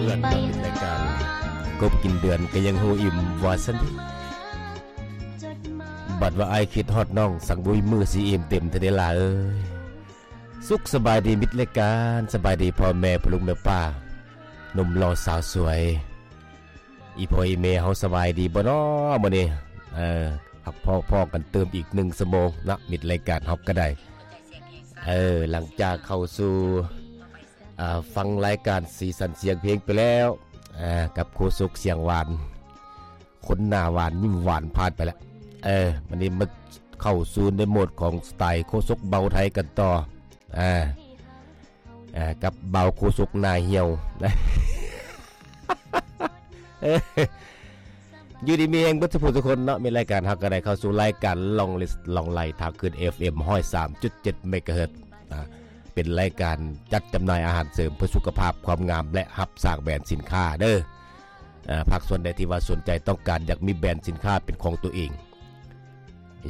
ເພື່ອນເນາະ ເຮັດລາຍການ ກົບກິນເດືອນກໍຍັງຮູ້ອີ່ມວ່າຊັ້ນເດ. ບັດວ່າອ້າຍຄິດຮອດນ້ອງ ສັງບໍ່ມີມື້ຊິອີ່ມເຕັມເທື່ອເດຫຼ້າເອີຍ. ສຸກສະບາຍດີມິດລາຍການ, ສະບາຍດີພໍ່ແມ່ພໍ່ລຸງແມ່ປ້າ, ໜຸ່ມຫຼໍ່ສາວສວຍ, ອີ່ພໍ່ອີ່ແມ່ເຮົາສະບາຍດີບໍ່ນໍມື້ນີ້? ເອີ ພັກພໍ້ພໍ້ກັນຕື່ມອີກໜຶ່ງຊົ່ວໂມງເນາະ ມິດລາຍການເຮົາກໍໄດ້. ເອີ ຫຼັງຈາກເຂົ້າສູ່ ອ່າ ຟັງລາຍການສີສັນສຽງເພງໄປແລ້ວ ອ່າ ກັບໂຄສົກສຽງຫວານ ຄົນໜ້າຫວານຍິ້ມຫວານຜ່ານໄປແລ້ວ. ເອີ ວັນນີ້ມາເຂົ້າສູ່ໃນໂໝດຂອງສະໄຕໂຄສົກເບົາໄທກັນຕໍ່ ອ່າ ອ່າ ກັບເບົາໂຄສົກໜ້າຫ່ຽວ. ຢູ່ດີມີແຮງເບິດສູ່ຜູ້ສູ່ຄົນເນາະ. ມີລາຍການ ເຮົາກໍໄດ້ເຂົ້າສູ່ລາຍການ Long List ລ່ອງໄລ່ທາງຄື້ນ ເອັຟເອັມ ຮ້ອຍສາມຈຸດເຈັດ ເມກາເຮີດ ອ່າ ເປັນລາຍການຈັດຈຳໜ່າຍອາຫານເສີມເພື່ອສຸຂະພາບ, ຄວາມງາມ ແລະ ຮັບສ້າງແບຣນສິນຄ້າເດີ. ອ່າ ພາກສ່ວນໃດທີ່ວ່າສົນໃຈຕ້ອງການຢາກມີແບຣນສິນຄ້າເປັນຂອງຕົວເອງ,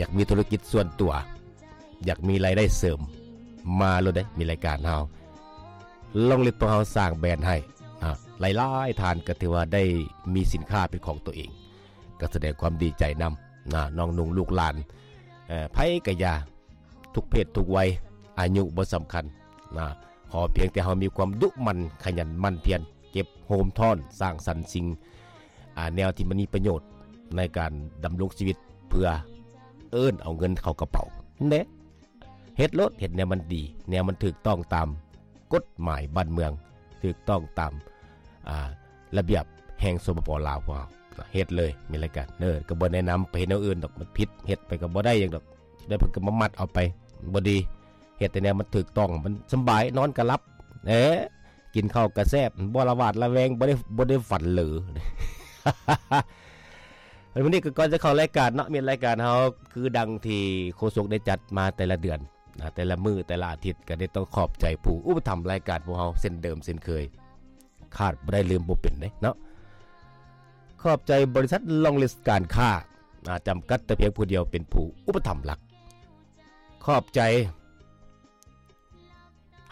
ຢາກມີທຸລະກິດສ່ວນຕົວ, ຢາກມີລາຍໄດ້ເສີມ, ມາໂລດເດ້ ມີລາຍການເຮົາ Long List ພວກເຮົາສ້າງແບຣນໃຫ້. ອ່າ ຫຼາຍໆທ່ານກໍຖືວ່າໄດ້ມີສິນຄ້າເປັນຂອງຕົວເອງ ກໍສະແດງຄວາມດີໃຈນຳນະ ນ້ອງນຸ່ງລູກຫຼານ ເອີ ໃຜກະຢ່າ ທຸກເພດທຸກໄວ ອາຍຸບໍ່ສຳຄັນນະ ຂໍພຽງແຕ່ເຮົາມີຄວາມດຸໝັ່ນ ຂະຫຍັນໝັ່ນພຽນ ເກັບໂຮມທ້ອນ ສ້າງສັນສິ່ງ ອາ ແນວທີ່ມັນມີປະໂຫຍດໃນການດຳລົງຊີວິດ ເພື່ອເອີ້ນເອົາເງິນເຂົ້າກະເປົາເດ້. ເຮັດໂລດ ເຮັດແນວມັນດີ ແນວມັນຖືກຕ້ອງຕາມກົດໝາຍບ້ານເມືອງ ຖືກຕ້ອງຕາມ ອ່າ ລະບຽບແຫ່ງ ສປປ ລາວ ພວກເຮົາ ເຮັດເລີຍ ມີລາຍການເດີ. ກໍບໍ່ແນະນຳໄປເຮັດແນວອື່ນດອກ ມັນຜິດ ເຮັດໄປກໍບໍ່ໄດ້ຫຍັງດອກ ໄດ້ເພິ່ນກໍມາມັດເອົາໄປ ບໍ່ດີ. ເຮັດແຕ່ແນວມັນຖືກຕ້ອງ ມັນສຳບາຍ ນອນກໍຫຼັບ ເອີ ກິນເຂົ້າກໍແຊບ ບໍ່ລະຫວາດລະແວງ ບໍ່ໄດ້ ບໍ່ໄດ້ຝັນເລີ. ວັນນີ້ກໍກ່ອນຈະເຂົ້າລາຍການເນາະ ມີລາຍການເຮົາ ຄືດັ່ງທີ່ໂຄສົກໄດ້ຈັດມາແຕ່ລະເດືອນນະ ແຕ່ລະມື້ ແຕ່ລະອາທິດ ກໍໄດ້ຕ້ອງຂອບໃຈຜູ້ອຸປະຖຳລາຍການພວກເຮົາເຊັ່ນເດີມເຊັ່ນເຄີຍ ຂາດບໍ່ໄດ້ ລືມບໍ່ເປັນເດ້ເນາະ. ຂອບໃຈບໍລິສັດ Long List ການຄ້າ ອາ ຈຳກັດ ແຕ່ພຽງຜູ້ດຽວເປັນຜູ້ອຸປະຖຳຫຼັກ. ຂອບໃຈ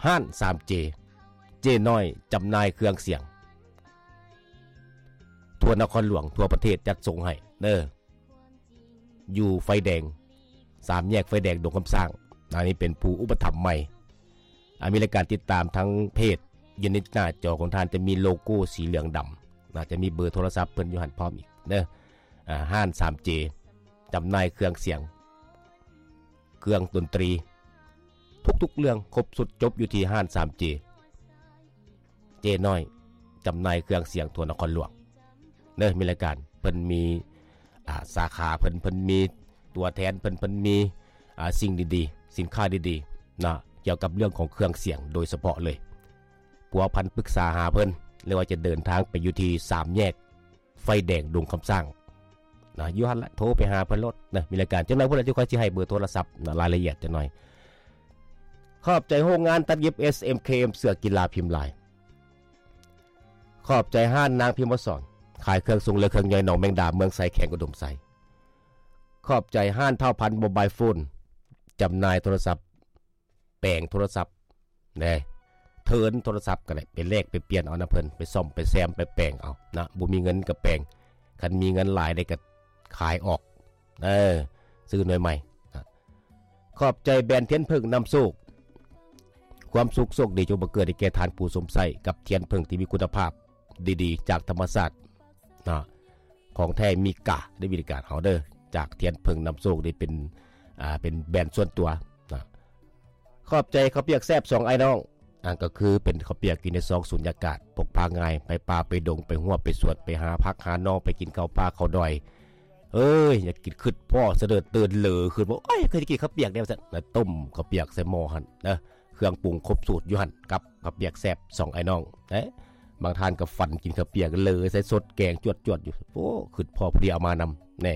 ຮ້ານ ສາມເຈ ເຈ້ນ້ອຍ ຈຳໜ່າຍເຄື່ອງສຽງ ທົ່ວນະຄອນຫຼວງ ທົ່ວປະເທດ ຈັດສົ່ງໃຫ້ເດີ. ຢູ່ໄຟແດງ ສາມແຍກໄຟແດງດົງຄຳສ້າງ ອັນນີ້ເປັນຜູ້ອຸປະຖຳໃໝ່. ອາ ມີລາຍການຕິດຕາມທາງເພຈ ຢູ່ໃນໜ້າຈໍຂອງທ່ານຈະມີໂລໂກ້ສີເຫຼືອງດຳນະ ຈະມີເບີໂທລະສັບເພິ່ນຢູ່ຫັ້ນພ້ອມອີກເດີ. ອາ ຮ້ານ ສາມເຈ ຈຳໜ່າຍເຄື່ອງສຽງ ເຄື່ອງດົນຕີ ທຸກໆເລື່ອງຄົບຊຸດຈົບຢູ່ທີ່ຮ້ານ ສາມເຈ ເຈ້ນ້ອຍ ຈຳໜ່າຍເຄື່ອງສຽງທົ່ວນະຄອນຫຼວງເດີ. ມີລາຍການ ເພິ່ນມີ ອ່າ ສາຂາເພິ່ນ ເພິ່ນມີຕົວແທນເພິ່ນ ເພິ່ນມີ ອ່າ ສິ່ງດີໆ ສິນຄ້າດີໆນະ ກ່ຽວກັບເລື່ອງຂອງເຄື່ອງສຽງໂດຍສະເພາະເລີຍ. ພົວພັນປຶກສາຫາເພິ່ນ ຫຼືວ່າຈະເດີນທາງໄປຢູ່ທີ່ສາມແຍກໄຟແດງດົງຄຳສ້າງນະ ຢູ່ຫັ້ນລະ ໂທໄປຫາເພິ່ນໂລດນະ. ມີລາຍການ ຈັກໜ່ອຍພຸ້ນລະ ຈະຄ່ອຍຊິໃຫ້ເບີໂທລະສັບນະ ລາຍລະອຽດຈັກໜ່ອຍ. ຂອບໃຈໂຮງງານຕັດເຢັບ ເອສເອັມເຄເອັມ ເສື້ອກິລາພິມລາຍ. ຂອບໃຈຮ້ານນາງພິມວະສອນ ຂາຍເຄື່ອງຊຸງ ແລະ ເຄື່ອງຍ່ອຍໜອງແມງດາ ເມືອງໄຊ ແຂວງອຸດົມໄຊ. ຂອບໃຈຮ້ານທ້າວພັນໂມບາຍໂຟນ ຈຳໜ່າຍໂທລະສັບ ແປງໂທລະສັບເດ້ ເທີນໂທລະສັບກໍໄດ້ ໄປແລກໄປປ່ຽນເອົານຳເພິ່ນ ໄປສ້ອມໄປແຊມໄປແປງເອົານະ. ບໍ່ມີເງິນກໍແປງ ຄັນມີເງິນຫຼາຍໄດ້ກໍຂາຍອອກ ເອີ ຊື້ໜ່ວຍໃໝ່ນະ. ຂອບໃຈແບຣນທຽນເຜິ້ງນຳໂຊກ ຄວາມສຸກໂຊກດີຈົ່ງບັງເກີດໃຫ້ແກ່ທ່ານຜູ້ຊົມໃຊ້ ກັບທຽນເຜິ້ງທີ່ມີຄຸນນະພາບດີໆ ຈາກທຳມະຊາດນະ. ຂອງແທ້ມີກາໄດ້ ບໍລິການເຮົາເດີ ຈາກທຽນເຜິ້ງນຳໂຊກນີ້ເປັນ ອ່າ ເປັນແບຣນສ່ວນຕົວນະ. ຂອບໃຈເຂົ້າປຽກແຊບສອງອ້າຍນ້ອງ ອ່າ ກໍຄືເປັນເຂົ້າປຽກຢູ່ໃນຊອງສຸນຍາກາດ ພົກພາງ່າຍ ໄປປ່າໄປດົງ ໄປຮົ້ວໄປສວນ ໄປຫາຜັກຫາໜໍ່ ໄປກິນເຂົ້າປ່າເຂົ້າດອຍ. ເອີຍ ຢາກກິນ ຄຶດພໍ້ສະເດີດຕື່ນເລີ ຄຶດວ່າ ໂອ້ຍ ຄືຈະກິນເຂົ້າປຽກແດ່ວ່າຊັ້ນ ແລ້ວຕົ້ມເຂົ້າປຽກໃສ່ໝໍ້ຫັ້ນເດີ ເຄື່ອງປຸງຄົບສູດຢູ່ຫັ້ນ ກັບເຂົ້າປຽກແຊບສອງອ້າຍນ້ອງເດ້. ບາງທ່ານກໍຝັນກິນເຂົ້າປຽກເລີໃສ່ສົດແກງຈວດໆຢູ່ ໂອ້ ຄຶດພໍ້ພໍດີເອົາມານຳແນ່.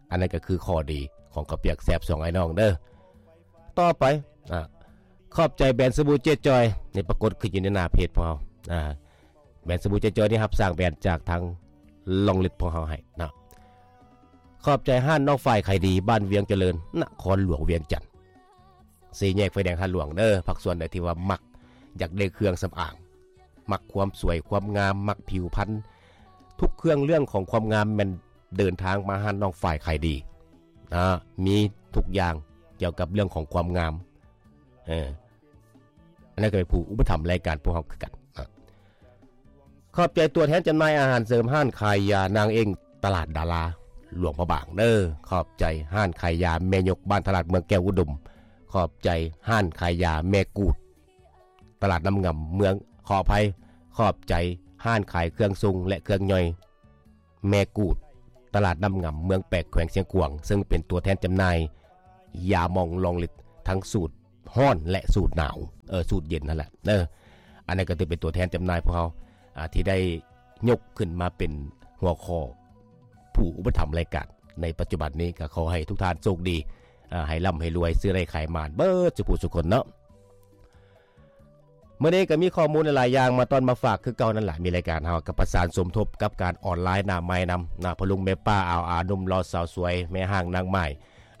ອັນນັ້ນກໍຄືຂໍ້ດີຂອງເຂົ້າປຽກແຊບສອງອ້າຍນ້ອງເດີ. ຕໍ່ໄປ ອ່າ ຂອບໃຈແບຣນສະບູເຈຈອຍ ນີ້ປາກົດຂຶ້ນຢູ່ໃນໜ້າເພຈພວກເຮົາ ອ່າ ແບຣນສະບູເຈຈອຍນີ້ຮັບສ້າງແບຣນຈາກທາງ Long List ພວກເຮົາໃຫ້ເນາະ. ຂອບໃຈຮ້ານນ້ອງຝ້າຍຂາຍດີ ບ້ານວຽງຈະເລີນ ນະຄອນຫຼວງວຽງຈັນ ສີ່ແຍກໄຟແດງທາດຫຼວງເດີ. ພາກສ່ວນໃດທີ່ວ່າມັກຢາກໄດ້ເຄື່ອງສຳອາງ ມັກຄວາມສວຍຄວາມງາມ ມັກຜິວພັນ ທຸກເຄື່ອງເລື່ອງຂອງຄວາມງາມແມ່ນເດີນທາງມາຮ້ານນ້ອງຝ້າຍຂາຍດີ ນະ ມີທຸກຢ່າງກ່ຽວກັບເລື່ອງຂອງຄວາມງາມ. ເອີ ອັນນັ້ນກໍເປັນຜູ້ອຸປະຖຳລາຍການພວກເຮົາຄືກັນນະ. ຂອບໃຈຕົວແທນຈຳໜ່າຍອາຫານເສີມ ຮ້ານຂາຍຢານາງເອງ ຕະຫຼາດດາລາ ຫຼວງພະບາງເດີ. ຂອບໃຈຮ້ານຂາຍຢາແມ່ຍົກ ບ້ານຕະຫຼາດ ເມືອງແກ້ວອຸດົມ. ຂອບໃຈຮ້ານຂາຍຢາແມ່ກູດ ຕະຫຼາດນ້ຳງຳ ເມືອງ ຂໍອະໄພ ຂອບໃຈຮ້ານຂາຍເຄື່ອງຊົງ ແລະ ເຄື່ອງຍ່ອຍ ແມ່ກູດ ຕະຫຼາດນ້ຳງຳ ເມືອງແປກ ແຂວງຊຽງຂວາງ ເຊິ່ງເປັນຕົວແທນຈຳໜ່າຍຢາໝອງລອງລິດ ທັງສູດຮ້ອນ ແລະ ສູດໜາວ ເອີ ສູດເຢັນຫັ້ນແຫຼະເດີ. ອັນນັ້ນກໍຖືເປັນຕົວແທນຈຳໜ່າຍພວກເຮົາ ອາ ທີ່ໄດ້ຍົກຂຶ້ນມາເປັນຫົວຂໍ້ຜູ້ອຸປະຖຳລາຍການໃນປັດຈຸບັນນີ້. ກໍຂໍໃຫ້ທຸກທ່ານໂຊກດີ ອາ ໃຫ້ລ່ຳໃຫ້ລວຍ ຊື້ໄດ້ຂາຍໝານເບິດສູ່ຜູ້ສູ່ຄົນເນາະ. ມື້ນີ້ກໍມີຂໍ້ມູນຫຼາຍໆຢ່າງມາຕ້ອນມາຝາກຄືເກົ່ານັ້ນລະ. ມີລາຍການເຮົາກໍປະສານສົມທົບກັບການອອນລາຍໜ້າໃໝ່ນຳນະ ພໍ່ລຸງແມ່ປ້າ ອາວອາ ໜຸ່ມຫຼໍ່ສາວສວຍ ແມ່ຮ້າງນາງໝ້າຍ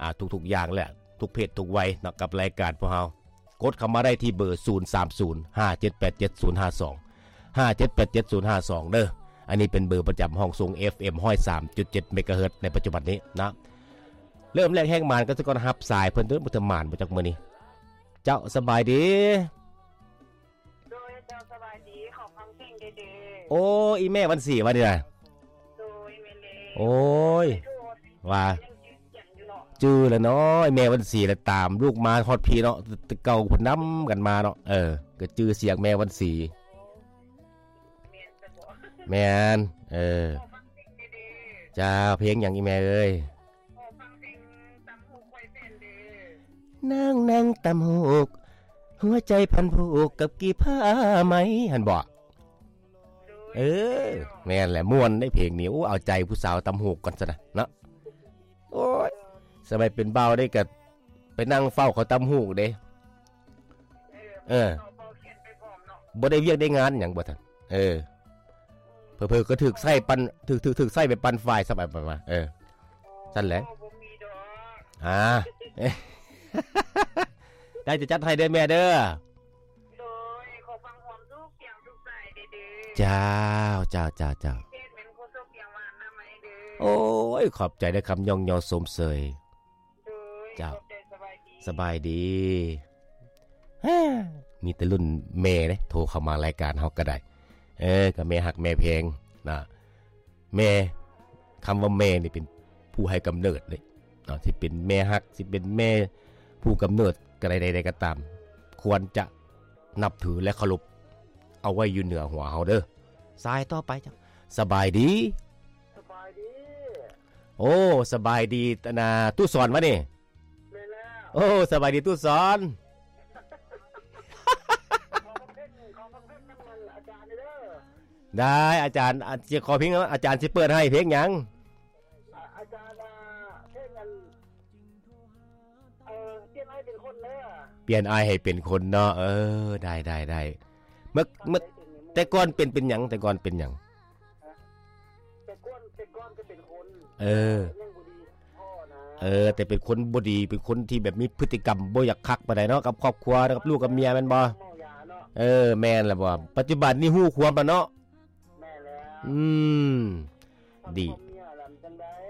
ອາ ທຸກໆຢ່າງແຫຼະ ທຸກເພດທຸກໄວເນາະ ກັບລາຍການພວກເຮົາ. ກົດເຂົ້າມາໄດ້ທີ່ເບີ ສູນສາມສູນ ຫ້າເຈັດແປດເຈັດ ສູນຫ້າສອງ ຫ້າເຈັດແປດເຈັດ ສູນຫ້າສອງ ເດີ. ອັນນີ້ເປັນເບີປະຈຳຫ້ອງສົ່ງ ເອັຟເອັມ ຮ້ອຍສາມຈຸດເຈັດ ເມກາເຮີດ ໃນປັດຈຸບັນນີ້ນະ. ເລີ່ມແລກແຮງໝານກັນຊະກ່ອນ ຮັບສາຍເພິ່ນເດີ ບໍ່ເຖິງໝານບໍ່ຈັກມື້ນີ້. ເຈົ້າ ສະບາຍດີ. ໂດຍ ເຈົ້າ ສະບາຍດີ ຂໍຟັງເພງແດ່ເດີ. ໂອ້ ອີແມ່ວັນສີວະນີ້ນະ. ໂດຍ ແມ່ນແລ້ວ. ໂອ້ຍ ວ່າ ຍັງຈື່ສຽງຢູ່ເນາະ. ຈື່ແລ້ວເນາະ ອີແມ່ວັນສີລະ ຕາມລູກມາຮອດພີ້ເນາະ ແຕ່ເກົ່າເພິ່ນນຳກັນມາເນາະ. ເອີ ກໍຈື່ສຽງແມ່ວັນສີ. ແມ່ນຊະບໍ? ແມ່ນ ເອີ. ຂໍຟັງເພງແດ່ເດີ. ເຈົ້າ ເພງຫຍັງອີແມ່ເອີຍ? ຂໍຟັງເພງຕຳຫູກຂ້ອຍແຟນເດີ. ນາງນັ່ງຕຳຫູກ ຫົວໃຈພັນຜູກກັບກີ້ຜ້າໄໝ ຫັ້ນບໍ? ໂດຍ ເອີ ແມ່ນແຫຼະ ມ່ວນເດ້ເພງນີ້. ໂອ້ ເອົາໃຈຜູ້ສາວຕຳຫູກກ່ອນຊັ້ນນະເນາະ. ໂອ້ຍ ສະໄໝເປັນບ່າວໄດ້ກະໄປນັ່ງເຝົ້າເຂົາຕຳຫູກເດ້. ເອີ ເອີ ບໍ່ໄດ້ວຽກໄດ້ງານຫຍັງບໍ່ທັນ. ເອີ ເຜີໆກໍຖືກໃຊ້ປັ່ນ ຖືກ ຖືກ ຖືກໃຊ້ໄປປັ່ນຝ້າຍຊະ ໄປໆ ມາ. ເອີ ຊັ້ນແຫຼະ ບໍ່ມີດອກ. ອ່າ ໄດ້ຈະຈັດໃຫ້ເດີແມ່ເດີ. ໂດຍ ຂໍຟັງຄວາມສຸກສຽງສຸກໃສເດີ. ເຈົ້າ ເຈົ້າ ເຈົ້າ ເຈົ້າ. ເພງແມ່ນຄົນສຸກສຽງຫວານນຳໃໝ່ເດີ. ໂອ້ຍ ຂອບໃຈເດີ ຄຳຍ້ອງຍໍຊົມເຊີຍ. ໂດຍ ເຈົ້າ ຂອບໃຈ ສະບາຍດີ ສະບາຍດີ. ມີແຕ່ລຸ້ນແມ່ເດ້ ໂທເຂົ້າມາລາຍການເຮົາກໍໄດ້. ເອີ ກໍແມ່ຮັກແມ່ແພງນະ ແມ່ ຄຳວ່າແມ່ນີ້ເປັນຜູ້ໃຫ້ກຳເນີດເດ້ເນາະ. ຊິເປັນແມ່ຮັກ ຊິເປັນແມ່ຜູ້ກຳເນີດກໍໄດ້ ໃດໆກໍຕາມ ຄວນຈະນັບຖື ແລະ ເຄົາລົບເອົາໄວ້ຢູ່ເໜືອຫົວເຮົາເດີ. ສາຍຕໍ່ໄປເຈົ້າ ສະບາຍດີ. ສະບາຍດີ. ໂອ້ ສະບາຍດີ ອັນນ່າ ຕຸສອນວະນີ້? ແມ່ນແລ້ວ. ໂອ້ ສະບາຍດີຕຸສອນ. ຂໍຟັງເພງ ຂໍຟັງເພງນຳອາຈານເດີ. ໄດ້ອາຈານ ອາ ຊິຂໍເພງ ອາຈານຊິເປີດໃຫ້ເພງຫຍັງ? ອາ ອາຈານວ່າເພງອັນ ເອີ ປ່ຽນອ້າຍເປັນຄົນເດີ. ປ່ຽນອ້າຍໃຫ້ເປັນຄົນເນາະ. ເອີ ໄດ້ ໄດ້ ໄດ້. ເມື່ອ ເມື່ອ ແຕ່ກ່ອນເປັນ ເປັນຫຍັງ? ແຕ່ກ່ອນເປັນຫຍັງ? ແຕ່ກ່ອນ ແຕ່ກ່ອນກໍເປັນຄົນ ເອີ ຍັງບໍ່ດີພໍນະ. ເອີ ແຕ່ເປັນຄົນບໍ່ດີ ເປັນຄົນທີ່ແບບມີພຶດຕິກຳບໍ່ຢາກຄັກປານໃດເນາະ ກັບຄອບຄົວ ກັບລູກກັບເມຍແມ່ນບໍ່? ເມົາຢາເນາະ. ເອີ ແມ່ນລະບໍ່? ປັດຈຸບັນນີ້ຮູ້ຄວາມລະເນາະ. ແມ່ນແລ້ວ. ອືມ ດີ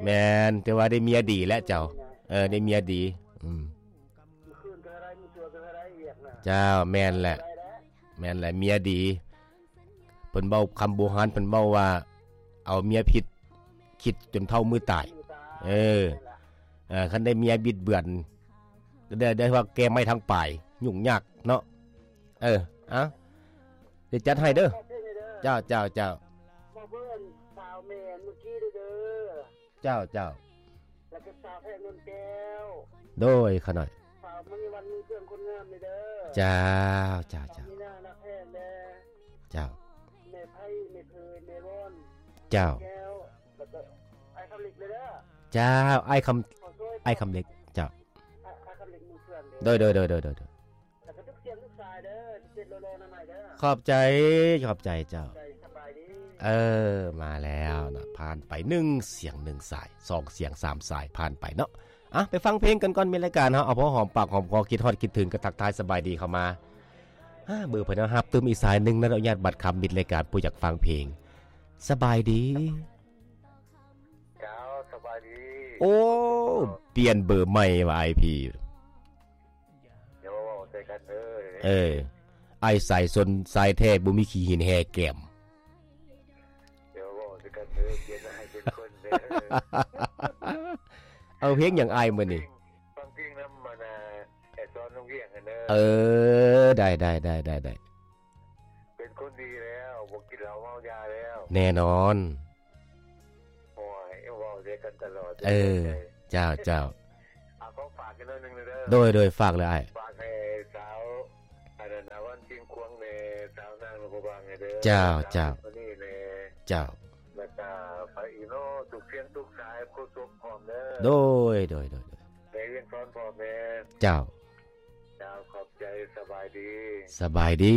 ແມ່ນ ແຕ່ວ່າໄດ້ເມຍດີແລ້ວເຈົ້າ. ເອີ ໄດ້ເມຍດີ. ອືມ ມື້ຄືນກໍໄດ້ ມື້ຊົ່ວກໍໄດ້ວຽກນະ. ເຈົ້າ ແມ່ນແຫຼະ ແມ່ນແຫຼະ ເມຍດີ. ເພິ່ນເວົ້າຄຳບູຮານ ເພິ່ນເວົ້າວ່າ ເອົາເມຍຜິດ ຄິດຈົນເທົ່າມື້ຕາຍ. ເອີ ເອີ ຄັນໄດ້ເມຍບິດເບືອນ ໄດ້ ໄດ້ວ່າແກ່ໄມ້ທັງປາຍ ຫຍຸ້ງຍາກເນາະ. ເອີ ເອົາ ດຽວຈັດໃຫ້ເດີ. ເຈົ້າ ເຈົ້າ ເຈົ້າ. ເຈົ້າ ເຈົ້າ. ແລ້ວກໍສາວແພງນົນແກ້ວ. ໂດຍ ຂະນ້ອຍ. ສາວມະນີວັນ ເມືອງເຄື່ອງຄົນງາມນີ້ເດີ. ເຈົ້າ ເຈົ້າ ເຈົ້າ. ມີນາງຮັກແພງແດ່. ເຈົ້າ. ແມ່ໄພ ແມ່ເພີ ແມ່ວອນ. ເຈົ້າ. ແກ້ວ ແລ້ວກໍອ້າຍຄຳເລັກເດີ. ເຈົ້າ ອ້າຍຄຳ ອ້າຍຄຳເລັກ. ເຈົ້າ. ອ້າຍຄຳເລັກເມືອງເຄື່ອງເດີ. ໂດຍ ໂດຍ ໂດຍ ໂດຍ ໂດຍ. ແລ້ວກໍທຸກສຽງທຸກສາຍເດີ ເຈັດໂລໂລນຳໃໝ່ເດີ. ຂອບໃຈ ຂອບໃຈເຈົ້າ. ຂອບໃຈ ສະບາຍດີ. ເອີ ມາແລ້ວເນາະ ຜ່ານໄປໜຶ່ງສຽງໜຶ່ງສາຍ ສອງສຽງສາມສາຍ ຜ່ານໄປເນາະ. ອ່ະ ໄປຟັງເພງກັນກ່ອນ ມີລາຍການເຮົາ ເອົາພໍຫອມປາກຫອມຄໍ ຄິດຮອດຄິດເຖິງ ກໍທັກທາຍສະບາຍດີເຂົ້າມາ. ອ່າ ເບີເພິ່ນເອົາຮັບຕື່ມອີກສາຍໜຶ່ງນະ ອະນຸຍາດບັດຄຳ ມິດລາຍການຜູ້ຢາກຟັງເພງ. ສະບາຍດີ. ເຈົ້າ ສະບາຍດີ. ໂອ້ ປ່ຽນເບີໃໝ່ວ່າ ອ້າຍພີ່. ຢ່າມາເວົ້າໃສ່ກັນເດີ. ເອີ ອ້າຍສາຍຊົນສາຍແທ້ ບໍ່ມີຂີ້ຫີນແຮ່ແກ້ມ. ຢ່າມາເວົ້າໃສ່ກັນເດີ ປ່ຽນອ້າຍເປັນຄົນເດີ. ເອົາເພງຫຍັງອ້າຍມື້ນີ້? ຟັງເພງນຳ ອັນນ່າ ໄອ້ສອນ ວງວຽງຫັ້ນເດີ. ເອີ ໄດ້ໆ ເປັນຄົນດີແລ້ວ ບໍ່ກິນເຫຼົ້າເມົາຢາແລ້ວ. ແນ່ນອນ. ໂອ້ຍ ເວົ້າໃສ່ກັນຕະຫຼອດ. ເອີ ເຈົ້າໆ. ເອົາ ຂໍຝາກອີກໜ້ອຍໜຶ່ງເດີ. ໂດຍໆ ຝາກເລີຍອ້າຍ. ຝາກໃຫ້ສາວ ອັນນັ້ນ ອາວັນຊິງຂວາງແດ່ ສາວນາງນະຄອນບາງແດ່ເດີ. ເຈົ້າໆ ຄົນນີ້ແດ່. ເຈົ້າ. ແລ້ວກະໄປອີກເນາະ ທຸກສຽງທຸກສາຍ ໂຄສົກພ້ອມເດີ. ໂດຍໆໆໆ. ແມ່ວຽງສອນພ້ອມແດ່. ເຈົ້າ. ເຈົ້າ ຂອບໃຈ. ສະບາຍດີ. ສະບາຍດີ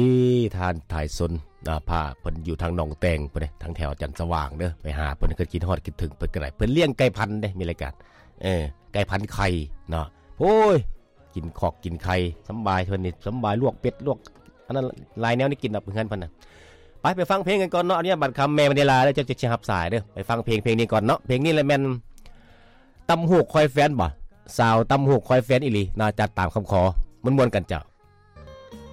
ທ່ານທ້າຍຊົນ. ອ່າ ພາເພິ່ນຢູ່ທາງໜອງແຕງພຸ້ນເດ້ ທາງແຖວຈັນສະຫວ່າງເດີ. ໄປຫາເພິ່ນ ຄິດຮອດຄິດເຖິງເພິ່ນກະໄດ້. ເພິ່ນລ້ຽງໄກ່ພັນເດ້ ມີລາຍການ ເອີ ໄກ່ພັນໄຂ່ເນາະ. ໂອ້ຍ ກິນຄອກກິນໄຂ່ສຳບາຍ ເພິ່ນນີ້ສຳບາຍ ລວກເປັດ ລວກອັນນັ້ນ ຫຼາຍແນວນີ້ກິນດອກເຮືອນເພິ່ນນະ. ໄປ ໄປຟັງເພງກັນກ່ອນເນາະ. ອະນຸຍາດບັດຄຳ ແມ່ມະນີລາ ແລ້ວຈັ່ງຊິຮັບສາຍເດີ. ໄປຟັງເພງເພງນີ້ກ່ອນເນາະ. ເພງນີ້ລະແມ່ນ ຕຳຫູກຄອຍແຟນບໍ? ສາວຕຳຫູກຄອຍແຟນອີ່ຫຼີ ໜ້າຈັດຕາມຄຳຂໍ. ມ່ວນໆກັນເຈົ້າ.